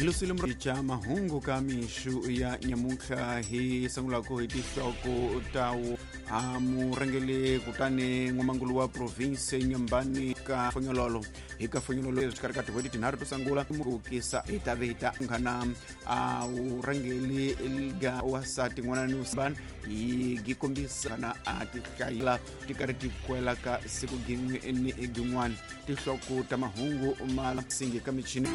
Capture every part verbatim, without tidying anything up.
Hilusile cha mahungu ka mixu ya nyamuntlha hi sungulaka hi tinhloko ta a murhangeli kutani n'wamangulu wa province Nyambani ka Fonyololo hi ka Fonyololo exikarhi ka tin'hweti tinharhu to sungula ku kisa hi ta ve hi ta nghana a vurhangeli ga wasati n'wana ni usibani hi gi kombisa na a tihlayela ti karhi ti kwela ka siku gin'we ni gin'wana tinhloko ta mahungu ma singi ka michini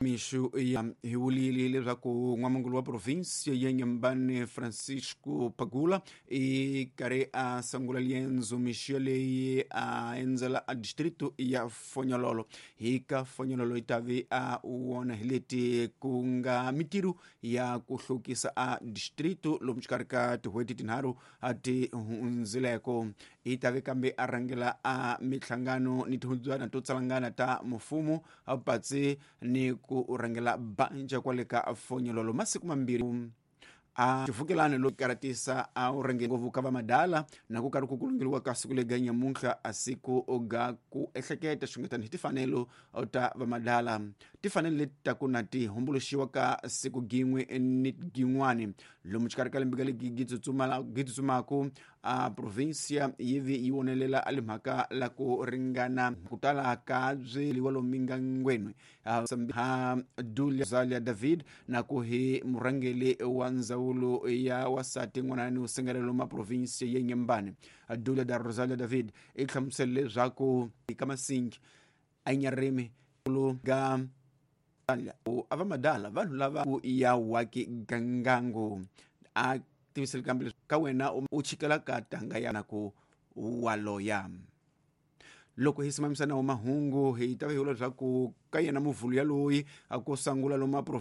mixu ya hi vulile leswaku n'wamangulu wa province ya Nyambani Francisco Pagula i karhi a sungula liendzo mixu yaleyi a endzela a distrito ya Fonyololo hi ka Fonyololo yi ta ve a wona hi leti ku nga mitirho ya ku hlukisa a distrito lomu xikarhi ka tin'hweti tinharhu a ti hundzileko i ta ve kambe a rhangela a mihlangano ni tihundzwana to tsalangana ta mfumo a patsi ni ku rhangela banja kwale ka Fonyololo masiku mambirhi a xivukelani lo karatisa a wu rhange ngopfu ka vamadala na ku karhi ku kulungeliwa ka siku lega nyamuntlha a siku ga ku ehleketa xungetani hi timfanelo ta vamadala timfanelo leti ta ku na ti humbuluxiwa ka siku gin'we ni gin'wani lomu xikarhi ka lembe ka legi gi tsutsumaka a provincia yi vi yi vonelela a limhaka la ku ringana ku tala ka byeliwa lomu mingangweni ha Dulia Zalia David na ku hi murhangeli wa ndzawulo ya wasati n'wana ni usengelelo ma province ya Nyambani Dulia da Rosalia David i hlamusele leswaku ka masingi a nyarimi ga a va madala vanhu lava ku ya waki gangango a tivisele kambe ka wena u chikela ka tanga ya na ku waloya loko hi simamisa na mahungu hi ta va hi vula leswaku ka yena muvhulu yaloyi a ku sungula lomu